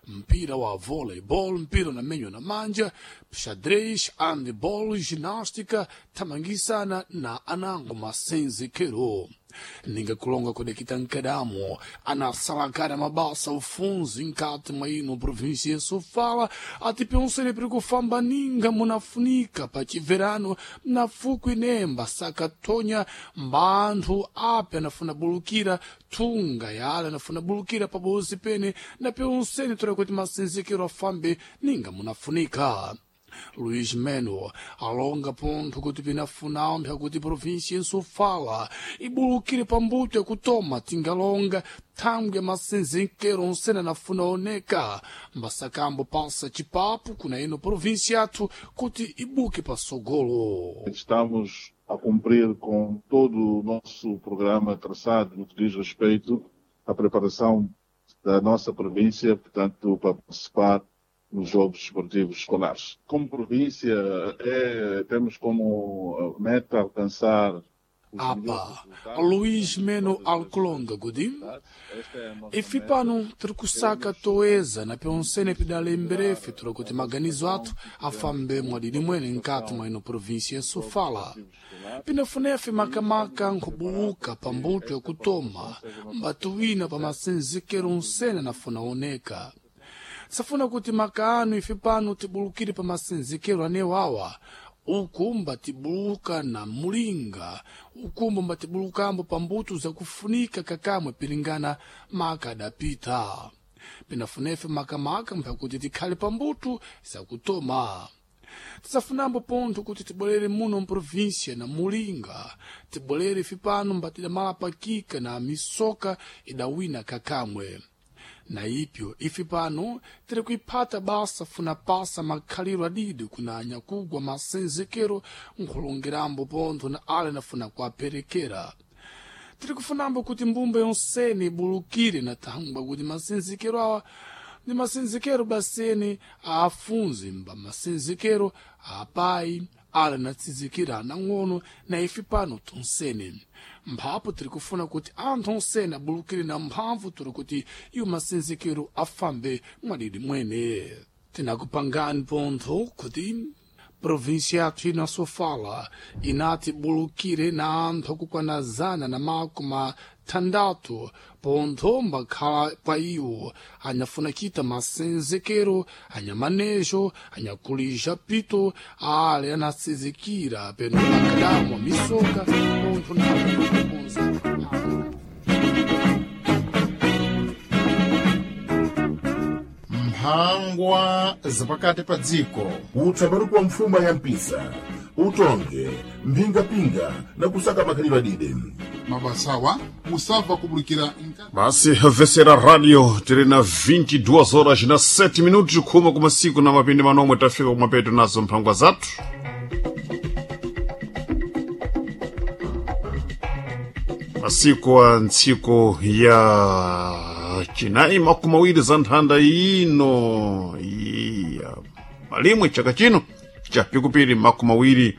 Mpira wa volleyball, mpira unamenywa na manja, xadrez, handball, ginástica, thamangisana na anango masenzekero. Ninga kulonga kudekita nkadamo anasalakana mabasa ufunzi nkati mwa ino província ya Sofala ati pensene piri kufamba ninga munafunika pachiverano na fukwi nemba sakatonya mbanthu ape anafuna bulukira thunga yale anafuna bulukira pabozi pene na pensene tora kuti masenzekero afambe ninga munafunika. Luís Meno alonga pontho kuti pinafuna mpha kuti província ya Sofala ibulukire pambuto yakutoma tingalonga thangwi ya masenzekero onsene anafuna oneka mbasakambo pasa chipapu kuna ino província yathu kuti ibuke pasogolo. Estamos a cumprir com todo o nosso programa traçado no que diz respeito à preparação da nossa província, portanto, para participar nos Jogos Esportivos Escolares. Como província, temos como meta alcançar os melhores Apa, resultados. Luís Meno Alcolonga kuti ife pano tiri kusaka toeza na pensene pidalemberefe tura kuti maganizo athu afambe mwadidi mwene nkati mwa ino província ya Sofala. Pinafunefe makamaka nkhubuluka pambuto yakutoma mbatuwina pa masenzekero onsene anafuna oneka. Safuna kuti makaano ife pano tibulukire pa masenzekero anewawa uku mbatibuluka na mulinga ukumbo mbatibulukambo pambuto zakufunika kakamwe pilingana maka adapita. Pinafunefe makamaka mphakuti tikhale pambuto zakutoma. Tisafunambo pontho kuti tibwerere muno mprovíncia na mulinga tibwerere ife pano mbatidamala pakika na misoka idawina kakamwe. Na ipyo ife pano tiri kuiphata basa funa pasa makhaliro adidi kuna anyakugwa masenzekero nkhulongerambo pontho na ale nafuna kuaperekera. Tiri kufunambo kuti mbumba yonsene ibulukire na thangwa kuti masenzekero awa ndi masenzekero basene aafunzi mba masenzekero apayi ale natsizikira anang'ono na ife pano tonsene. Mphapo tiri kufuna kuti anthu onsene abulukire na mphamvu tiri kuti iwo masenzekero afambe mwadidi mwene. Tinakupangani pontho kuti província yathu ino ya Sofala inati bulukire na anthu akukwana 160 pontho mbakhala pa iwo anyafuna kita masenzekero anyamanejo anyakulija pito ale anasizikira peno makadamo misoka pontho na kukonza. Mphangwa zapakati pa dziko. Utsabaruku wa mfuma ya mpisa utonge mphingapinga na kusaka makhalidwe adide. Mabasawa musabva kubulikira nkati. Basi vesera radio tiri na 22 horas na 7 minutos khuma kumasiku na mapindi manomwe tafika kumapeto nazo mphangwa zathu. Masiku a ntsiku ya chinayi 20 za nthanda ino iya malimwe chaka chino cha pikupiri 25.